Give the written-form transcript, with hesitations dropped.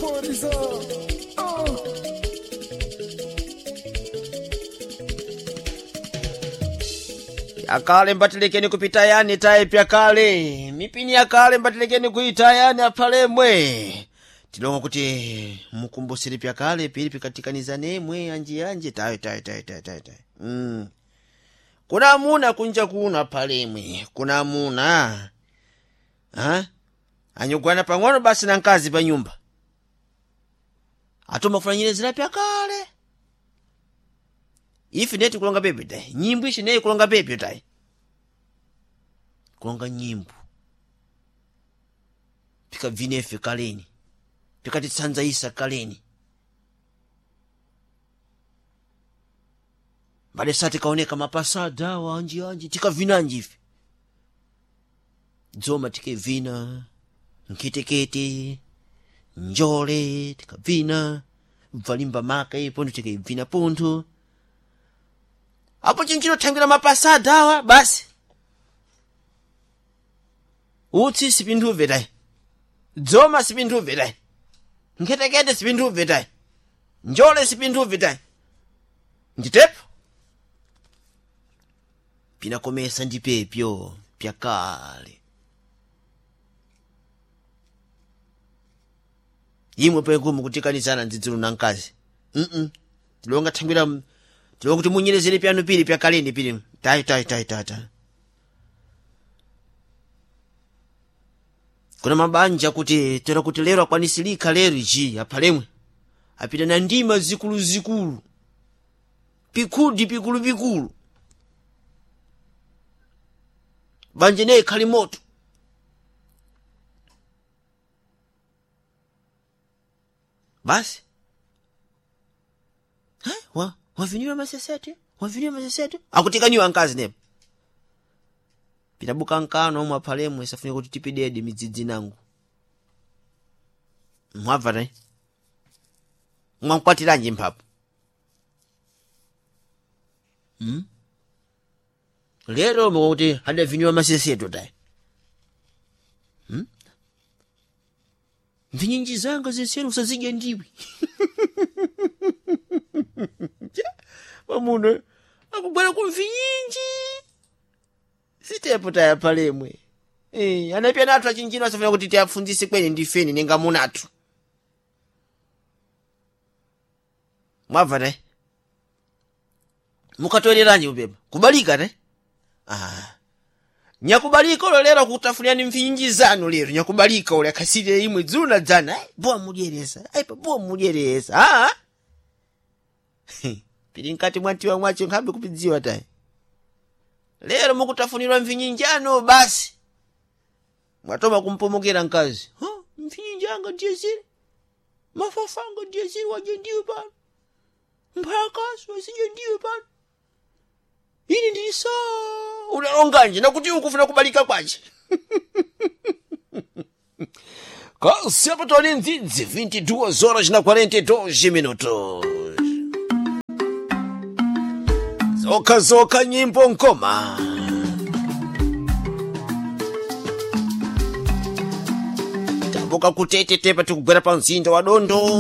Maphorisa. Ah. Yakale mbatilekeni kupita yani tayi pyakale mipini yakale mbatilekeni kuita yani aphalemwe tilonga kuti mukumbusire pyakale pili pikatikanizane anji anji tayi tayi tayi tayi tayi tayi Kuna amuna kunja kuno aphalemwe, kuna amuna ha anyugwana pang'ono basi na nkazi pa nyumba atomafulanyire pyakale ife neti kulonga pepe tayi nyimbo ishi neyi kulonga pepe tayi kulonga nyimbo pikabvinefe kaleni pikatitsanzaisa kaleni mbale sa tikaoneka mapasada awa anji anji tikavinanji ife dzoma tikevina nkhetekete njole tikabvina bvalimba maka ipo ndo tikebvina pontho apo chinchino mapasada awa basi utsi sipinthuve tayi dzoma sipinthuve tayi nkhetekete sipinthuve tayi njole sipinthuve tayi nditepo pinakomesa ndi pepyo pyakale imwe penkumu kutikanizana ndzidzulu na mkazi tilonga thangwira tilonga kuti munyerezere pyanu pili pyakaleni pili tayi tayi tayi tayi tayi kuna mabanja kuti tera kuti lero akwanisilika lero iji aphalemwe apita na ndima zikuluzikulu pikhudi pikulupikulu banja naye khali moto basi Ha? wa waviniwa masesete waviniwa masesete akutikaniwa nkazi nepo pitabuka nkano omwe aphalemwe safunika kuti tipidedi midzidzi nangu mwabva ne mwankwatiranji mphapo Lero mukuti adaviniwa maseseto tayi Mvinyinji zanga zensene usazidya ndiwe pamuno akugwera ku mvinyinji sitepo taya palemwe eh anapya nathu achinjino asafuna kuti tiafunzise kweni ndifeni nenga munathu mwabva ne mukatoleranji upepa kubalika ne ah nyakubalika ulo lero kutafunirani mvinyinji zanu lero nyakubalika ule akhasire imwe dzulu na dzana ai bowa mudyeresa ai pa bowa mudyeresa ah pili mkati mwatiwa mwacho nkhambe kupidziwa tayi lero mukutafunirwa mvinyinjano basi mwatoma kumpomokera mkazi huh? mvinyinjanga ndiye zile mafafanga ndiye zile waje ndiwe pano mphakaso wasije ndiwe pano ini ndisa unalonganje nakuti ukufuna kubalika kwace kasepatoni ndzidzi 22 horas na 42 minutos zokha zokha nyimbo nkoma tabuka kutetetepa tikugwera pa mzinda wa dondo.